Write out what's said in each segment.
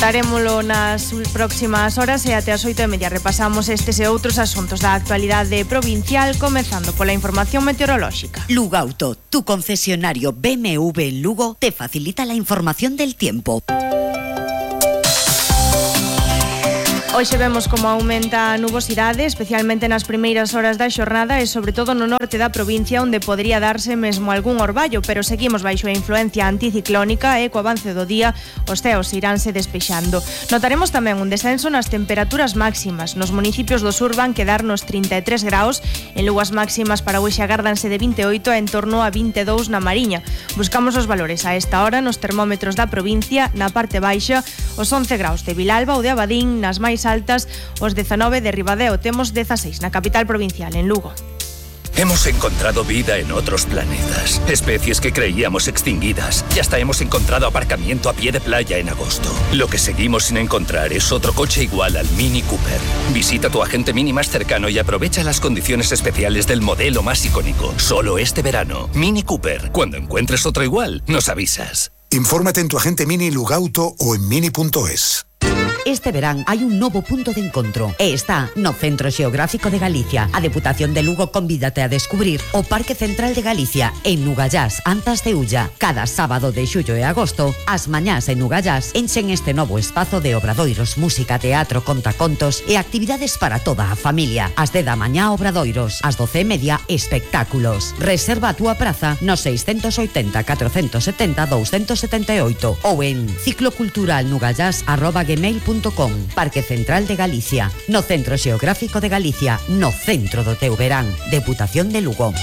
Contarémolo nas próximas horas e até as 8:30 repasamos estes e outros asuntos da actualidade provincial, comezando pola información meteorolóxica. Lugauto, tu concesionario BMW en Lugo, te facilita la información del tiempo. Hoxe vemos como aumenta a nubosidade, especialmente nas primeiras horas da xornada e sobre todo no norte da provincia, onde podría darse mesmo algún orballo, pero seguimos baixo a influencia anticiclónica e co avance do día os ceos iránse despexando. Notaremos tamén un descenso nas temperaturas máximas. Nos municipios do sur van quedar nos 33 graus, en Lugo as máximas para hoxe agárdanse de 28 a en torno a 22 na Mariña. Buscamos os valores a esta hora nos termómetros da provincia, na parte baixa os 11 graus de Vilalba ou de Abadín, nas máis altas os 19 de Ribadeo, temos 16 na capital provincial, en Lugo. Hemos encontrado vida en otros planetas, especies que creíamos extinguidas y hasta hemos encontrado aparcamiento a pie de playa en agosto. Lo que seguimos sin encontrar es otro coche igual al Mini Cooper. Visita tu agente Mini más cercano y aprovecha las condiciones especiales del modelo más icónico. Solo este verano. Mini Cooper. Cuando encuentres otro igual, nos avisas. Infórmate en tu agente Mini Lugauto o en mini.es. Este verán hai un novo punto de encontro e está no Centro Xeográfico de Galicia. A Deputación de Lugo convídate a descubrir o Parque Central de Galicia en Nugallás, Antas de Ulla. Cada sábado de xullo e agosto, as mañás en Nugallás enchen este novo espazo de obradoiros, música, teatro, contacontos e actividades para toda a familia. As 10 da mañá obradoiros, as 12:30 espectáculos. Reserva a túa praza no 680 470 278 ou en cicloculturalnugallás@gmail.com. Parque Central de Galicia, no Centro Xeográfico de Galicia, no centro do teu verán. Deputación de Lugo.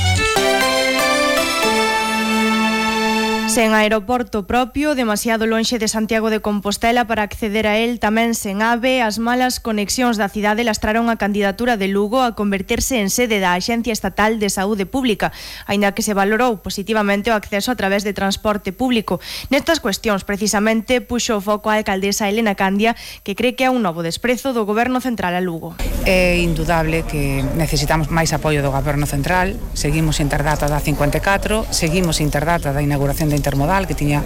Sen aeroporto propio, demasiado lonxe de Santiago de Compostela para acceder a él, tamén sen AVE, as malas conexións da cidade lastraron a candidatura de Lugo a converterse en sede da Axencia Estatal de Saúde Pública, aínda que se valorou positivamente o acceso a través de transporte público. Nestas cuestións, precisamente, puxo o foco a alcaldesa Elena Candia, que cree que é un novo desprezo do Goberno Central a Lugo. É indudable que necesitamos máis apoio do Goberno Central. Seguimos sin ter data da 54, seguimos sin ter data da inauguración da intermodal, que tiña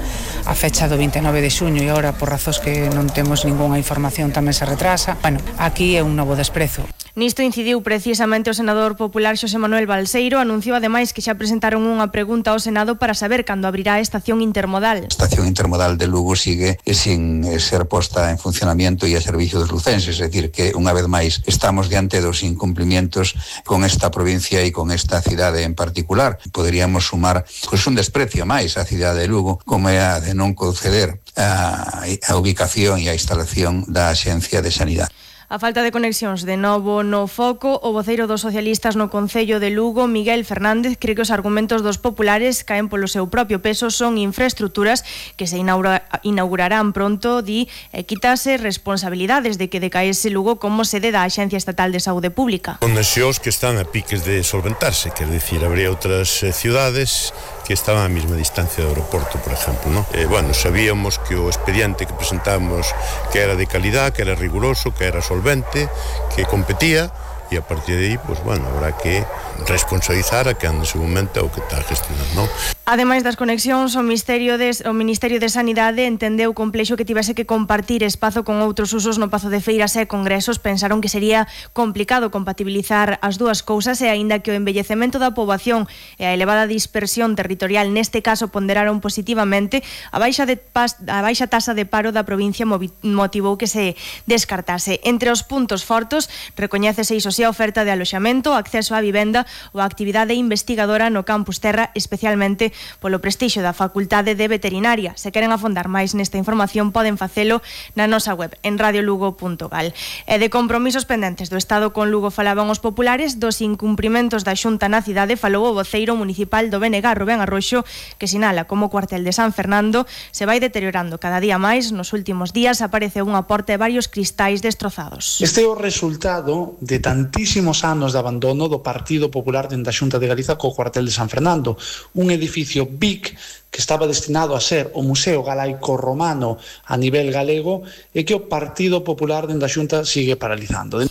a fecha do 29 de xuño e agora, por razóns que non temos ningunha información, tamén se retrasa. Bueno, aquí é un novo desprezo. Nisto incidiu precisamente o senador popular Xosé Manuel Balseiro. Anunciou ademais que xa presentaron unha pregunta ao Senado para saber cando abrirá a estación intermodal. A estación intermodal de Lugo sigue sin ser posta en funcionamiento e a servicio dos lucenses, é dicir, que unha vez máis estamos diante dos incumplimientos con esta provincia e con esta cidade en particular. Poderíamos sumar un desprecio máis á cidade de Lugo, como é a de non conceder a ubicación e a instalación da Axencia de Sanidade. A falta de conexións de novo no foco, o voceiro dos socialistas no Concello de Lugo, Miguel Fernández, cree que os argumentos dos populares caen polo seu propio peso, son infraestructuras que se inaugurarán pronto, di, e quítase responsabilidades de que decaese Lugo como sede da Axencia Estatal de Saúde Pública. Conexóns que están a piques de solventarse, quer dicir, habría outras ciudades que estaban a mesma distancia do aeroporto, por exemplo, ¿no? Bueno, sabíamos que o expediente que presentamos que era de calidad, que era riguroso, que era solvente, que competía, e a partir de aí, pues bueno, habrá que responsabilizar a que en ese momento o que está gestionando, ¿no? Ademais das conexións, o Ministerio de Sanidade entendeu complexo que tivese que compartir espazo con outros usos no Pazo de Feiras e congresos. Pensaron que sería complicado compatibilizar as dúas cousas e aínda que o envellecemento da poboación e a elevada dispersión territorial neste caso ponderaron positivamente, a baixa tasa de paro da provincia motivou que se descartase. Entre os puntos fortes recoñécese iso sí a oferta de aloxamento, acceso á vivenda ou a actividade investigadora no Campus Terra, especialmente polo prestixio da Facultade de Veterinaria. Se queren afondar máis nesta información poden facelo na nosa web en radiolugo.gal. E de compromisos pendentes do Estado con Lugo falaban os populares, dos incumprimentos da Xunta na cidade falou o voceiro municipal do BNG, Rubén Arroxo, que sinala como o cuartel de San Fernando se vai deteriorando cada día máis. Nos últimos días apareceu unha porta e varios cristais destrozados. Este é o resultado de tantísimos anos de abandono do Partido Popular dentro da Xunta de Galiza co cuartel de San Fernando, un edificio BIC que estaba destinado a ser o Museo Galaico Romano a nivel galego e que o Partido Popular dentro da Xunta sigue paralizando.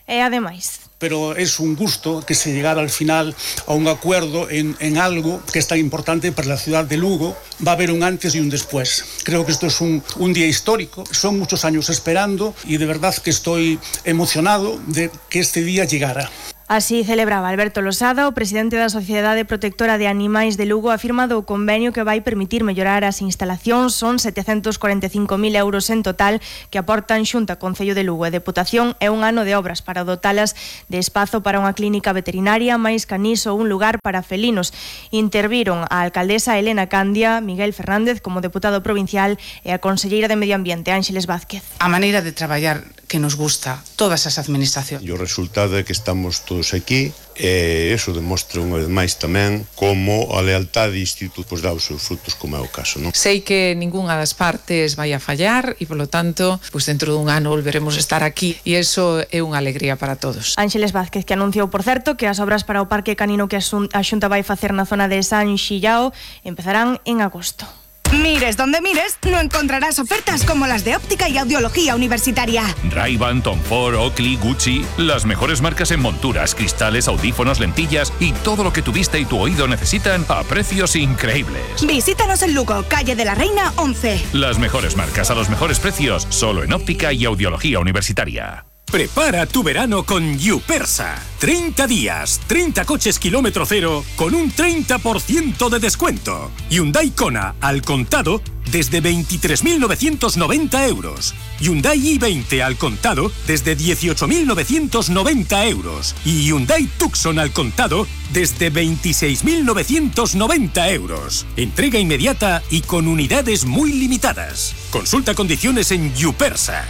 E ademais, pero es un gusto que se llegara al final a un acuerdo en algo que es tan importante para la ciudad de Lugo. Va a haber un antes y un después. Creo que esto es un día histórico, son muchos años esperando y de verdad que estoy emocionado de que este día llegara. Así celebraba Alberto Losada, o presidente da Sociedade Protectora de Animais de Lugo, afirmado o convenio que vai permitir mellorar as instalacións. Son 745.000 euros en total que aportan Xunta, Concello de Lugo e Deputación e un ano de obras para dotalas de espazo para unha clínica veterinaria, máis canís ou un lugar para felinos. Interviron a alcaldesa Elena Candia, Miguel Fernández como deputado provincial e a conselleira de Medio Ambiente, Ángeles Vázquez. A maneira de traballar que nos gusta todas as administracións. E o resultado é que estamos todos aquí e eso demostra unha vez máis tamén como a lealtade instituto pois dá os seus frutos, como é o caso, non? Sei que ningunha das partes vai a fallar e, polo tanto, pois dentro dun ano volveremos a estar aquí e eso é unha alegría para todos. Ángeles Vázquez, que anunciou, por certo, que as obras para o Parque Canino que a Xunta vai facer na zona de San Xillao empezarán en agosto. Mires donde mires, no encontrarás ofertas como las de óptica y audiología universitaria. Ray-Ban, Tom Ford, Oakley, Gucci, las mejores marcas en monturas, cristales, audífonos, lentillas y todo lo que tu vista y tu oído necesitan a precios increíbles. Visítanos en Lugo, calle de la Reina 11. Las mejores marcas a los mejores precios, solo en óptica y audiología universitaria. Prepara tu verano con Yupersa. 30 días, 30 coches kilómetro cero con un 30% de descuento. Hyundai Kona al contado desde 23.990 euros. Hyundai i20 al contado desde 18.990 euros. Y Hyundai Tucson al contado desde 26.990 euros. Entrega inmediata y con unidades muy limitadas. Consulta condiciones en Yupersa.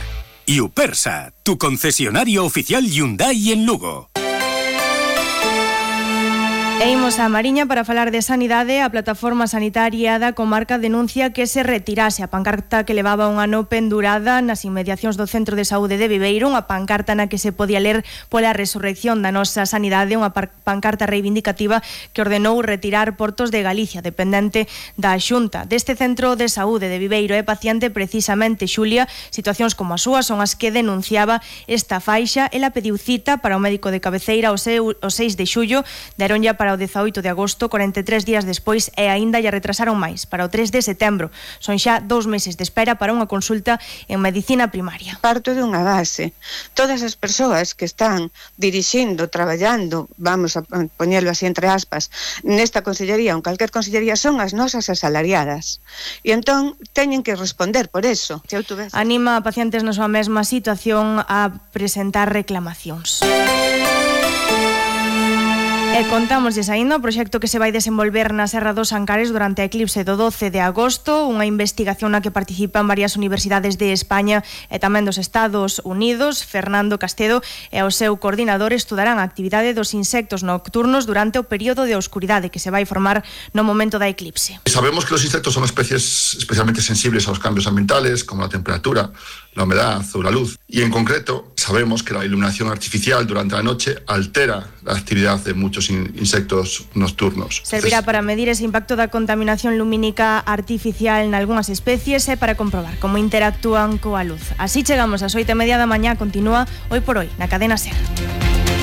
Yupersa, tu concesionario oficial Hyundai en Lugo. E imos a Mariña para falar de sanidade. A plataforma sanitaria da comarca denuncia que se retirase a pancarta que levaba un ano pendurada nas inmediacións do Centro de Saúde de Viveiro, unha pancarta na que se podía ler pola resurrección da nosa sanidade, unha pancarta reivindicativa que ordenou retirar Portos de Galicia, dependente da Xunta. Deste Centro de Saúde de Viveiro é paciente precisamente Xulia. Situacións como a súa son as que denunciaba esta faixa. Ela pediu cita para o médico de cabeceira o 6 de xullo, deronlla para o 18 de agosto, 43 días despois, e aínda lle retrasaron máis, para o 3 de setembro. Son xa 2 meses de espera para unha consulta en medicina primaria. Parto de unha base. Todas as persoas que están dirixindo, traballando, vamos a poñelo así entre aspas, nesta consellería ou en calquer consellería son as nosas asalariadas. E entón teñen que responder por eso. Anima a pacientes na súa mesma situación a presentar reclamacións. E contámosles aínda o proxecto que se vai desenvolver na Serra dos Ancares durante a eclipse do 12 de agosto, unha investigación na que participan varias universidades de España e tamén dos Estados Unidos. Fernando Castedo e o seu coordinador estudarán a actividade dos insectos nocturnos durante o período de oscuridade que se vai formar no momento da eclipse. Sabemos que los insectos son especies especialmente sensibles a los cambios ambientales, como la temperatura, la humedad o la luz. Y en concreto, sabemos que la iluminación artificial durante la noche altera la actividad de muchos insectos nocturnos. Servirá para medir ese impacto da contaminación lumínica artificial en algunhas especies e para comprobar como interactúan coa luz. Así chegamos ás 8:30 da mañá. Continúa Hoy por Hoy na cadena SER.